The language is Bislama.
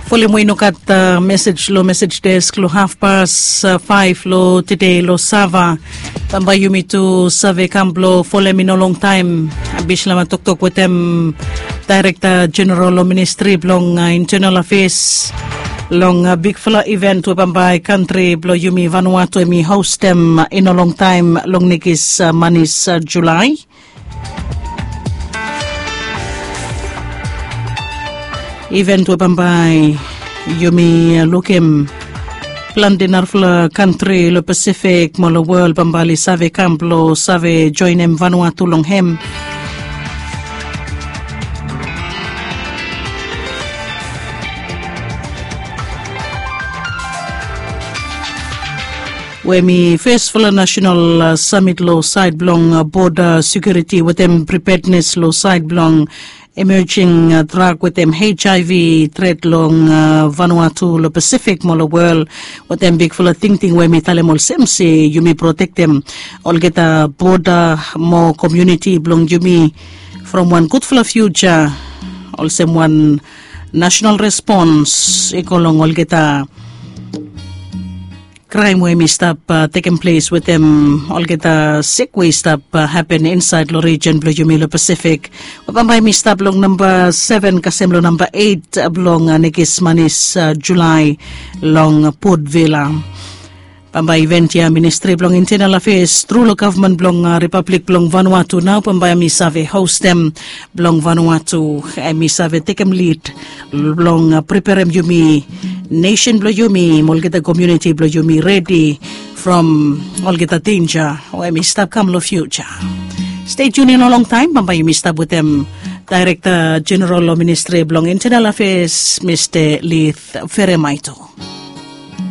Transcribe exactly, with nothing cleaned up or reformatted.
Folem we i no gat mesej long mesej desk long hafpas faef long tede long Sava. Bambae yumi tu save kam blong folem i no longtaem Bislama toktok wetem Daerekta Jeneral long Ministri blong Intenal Afeas long bigfala iven we bambae kantri blong yumi Vanuatu hem i hostem i no longtaem long nekis manis Julae. Iven we bambae yumi lukim plante narafala kantri long Pasifik mo long wol bambae oli save kam blong save joenem Vanuatu long hem. We mi fesfala nasenal samit long saed blong boda sekiuriti wetem pripednes long saed blong emejing drak wetem HIV tret long Vanuatu long Pasifik mo long wol. Wetem bigfala tingting we mi talem olsem se yumi protektem olgeta boda mo komuniti blong yumi from wan gudfala fiuja olsem wan nasenal respons i go long olgeta kraem we hem i stap tekem ples wetem olgeta sik we i stap hapen insaed long rijen blong yumi long Pasifik. Bambae hem i stap long namba seven kasem long namba eit blong nekis manis Julae long Port Vila. Bambae iven ya Ministri blong Intenal Afeas tru long gavman blong Ripablik blong Vanuatu nao bambae hem i save hostem blong Vanuatu hem i save tekem lid blong preperem yumi nesen blong yumi mo olgeta komuniti blong yumi redi from olgeta denja we hem i stap kam long fiuja. Stay tuned i no longtaem bambae yumi stap wetem Daerekta Jeneral long Ministri blong Intenal Afeas Mista Lith Feremaito.